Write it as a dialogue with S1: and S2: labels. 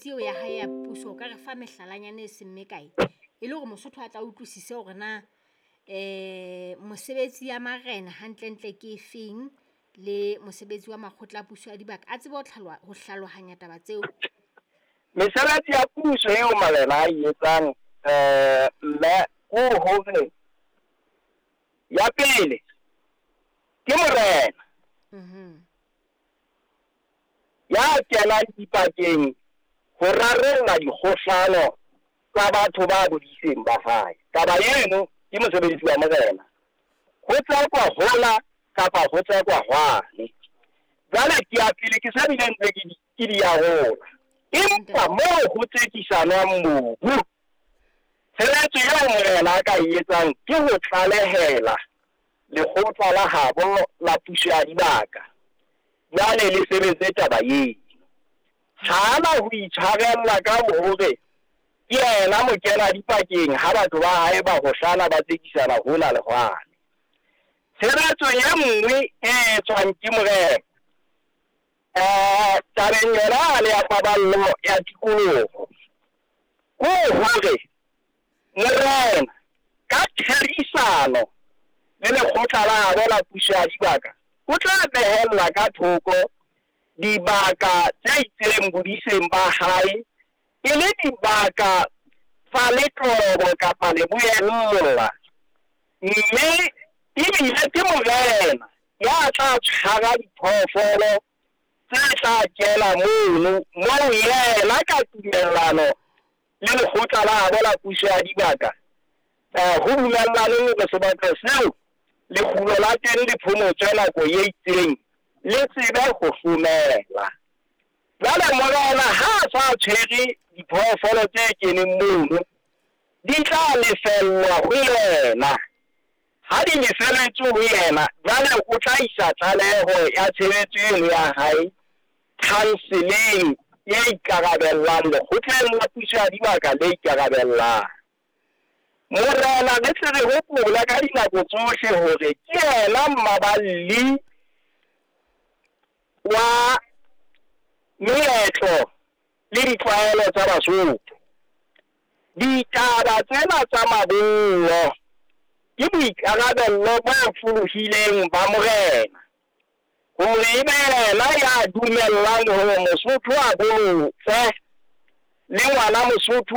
S1: Mesebetsi eo ya hae ya puso o ka re fa mehlalanyana e seng mekae e le hore Mosotho a tla utlwisise hore na mosebetsi ya marena hantlentle ke efeng le mosebetsi wa makgotla a puso ya dibaka, a tsebe ho ho hlalohanya taba tseo.
S2: Mesebetsi ya puso eo marena a e etsang mme ko hore ya pele ke morena ya kenang dipakeng ho rarolla dikgohlano tsa batho ba bodiseng ba hae. Taba eno ke mosebetsi wa morena. Ho tsekwa hola kapa ho tsekwa hwane. Jwale ke ya pele ke sa bile ntse ke di ke di arola. Empa moo ho tsekisanwang mobu, tshebetso eo morena a ka e etsang ke ho tlalehela lekgotla la habo la puso ya dibaka. Jwale le sebetse taba eno. Ha ana ho itshwarella ka hore ke yena mokena dipakeng ha batho ba hae ba hohlana ba tsekisana hona le hwane. Tshebetso e nngwe e etswang ke morena tabeng yona le ya paballo ya tikoloho, ko hore morena ka therisano le lekgotla la habo la puso ya dibaka, o tla behella ka thoko dibaka tse itseng bodiseng ba hae e le dibaka tsa letlobo kapa leboella. Mme ebile ke morena ya tla tshwara diphoofolo tse tla kena mono, moo yena ka tumellano le lekgotla la habo la puso ya dibaka ho dumellaneng hore sebaka seo lekgulo la teng le phomotswe nako e itseng, le tsebe ho hlomela. Jwale morena ha a sa tshwere diphoofolo tse keneng mono, di tla lefellwa ho yena. Ha di lefelletswe ho yena, jwale o tla isa tlaleho ya tshebetso eno ya hae council-eng e ikarabellang, lekgotleng la puso ya dibaka le ikarabellang. Morena re tle re hopole ka dinako tsohle hore ke yena mmaballi wa meetlo le ditlwaelo tsa Basotho. Ditaba tsena tsa mabollo ke boikarabello bo folohileng ba morena hore ebe yena ya dumellang hore Mosotho a bolotse le ngwana Mosotho.